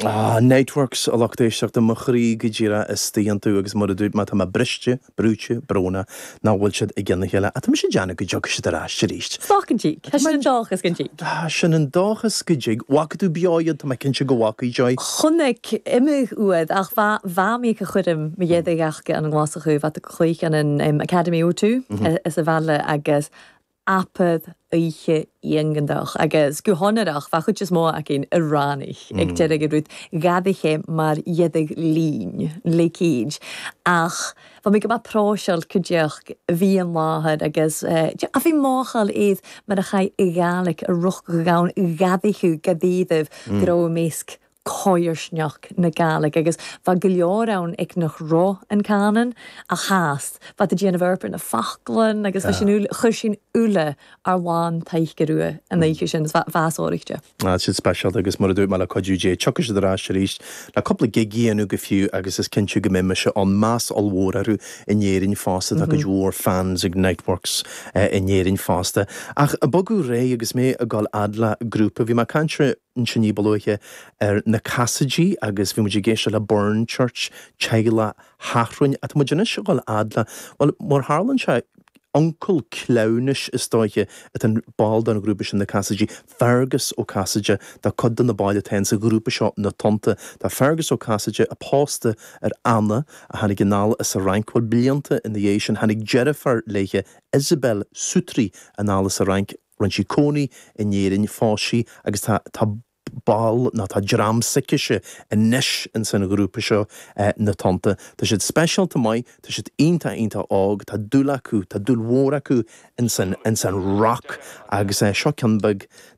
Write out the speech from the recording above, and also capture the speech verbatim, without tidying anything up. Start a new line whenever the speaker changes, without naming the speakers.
Ah, Niteworks a lucht éisteachta mo chroí go díreach istigh iontu agus mar a dúirt mé tá mé briste, brúite, brónach nach bhfuil siad i gcionn a chéile. Ach tá mise ag déanamh go dtiocfaidh siad ar ais arís.
Slán go dtig. Tá sin an dóchas go dtig.
Ah, sin an dóchas go dtig. Bhfaca tú beo iad tá mé cinnte go bhfaca Joy.
Chonaic imigh uaid ach bha bha mé go chuirm mo dhéadaigh ach an nGlasachu bha chluich an an Academy O two is a bhile agus apad oíche iontach agus go háirithe bha chuid is mó againn i ráinich ag deireadh rud gadaithe mar dhéadaigh lín léicíd ach Bha mé go maith próiseáil cuideach bhí an láthair agus a bhí máchail iad mar a chaith i Gàidhlig a ruch go gann gadaithe gadaíomh go raibh méasc cóirsneach na Gàidhlig agus bha go leor ann ag nach ro an canan a chast Bha a déanamh ar na fachlan agus bha sin chuir sin uile ar lán taigh rua an oíche sin bhásóireachta.
Ah, siad speisialta agus mar a dúirt mé le cuidiú Dé tiocfaidh siad ar ais arís le cúpla gig a dhéanamh go fiú agus is cinnte go mbeidh mise an meas ollmhór orthu in Éirinn fosta tá cuid mhór fans ag Niteworks eh, in Éirinn fosta. Ach a bogadh réidh agus mé ag dul fhad le grúpa, bhí mé caint ansin ní ba luaithe ar na Cassaidí agus bhí muid ag éisteacht le Burn Church teaghlach Sheathrúin atá muid anois ag dul fhad le well mar tharlaíonn sé uncail cleamhnais is dóiche atá an ball den ghrúpa sin na Cassaidí, Fergus Ó Casaide tá cuid de na baill atá sa ghrúpa seo na Tonnta. Tá Fergus Ó Casaide a pósta ar Anna a tháinig anall as an Fhrainc bhfuil blianta ina dhiaidh sin tháinig deirfiúr léithe Isabel Sutri anall as an Fhrainc rinne sí cónaí in Éirinn phós sí agus tá tá ball ná tá dream s'aicise anois in san ghrúpa seo eh, na Tonnta. Tá siad speisialta maith, tá siad iontach iontach óg, tá dúil acu, tá dúil mhór acu in san in san rock agus eh, seo ceann beag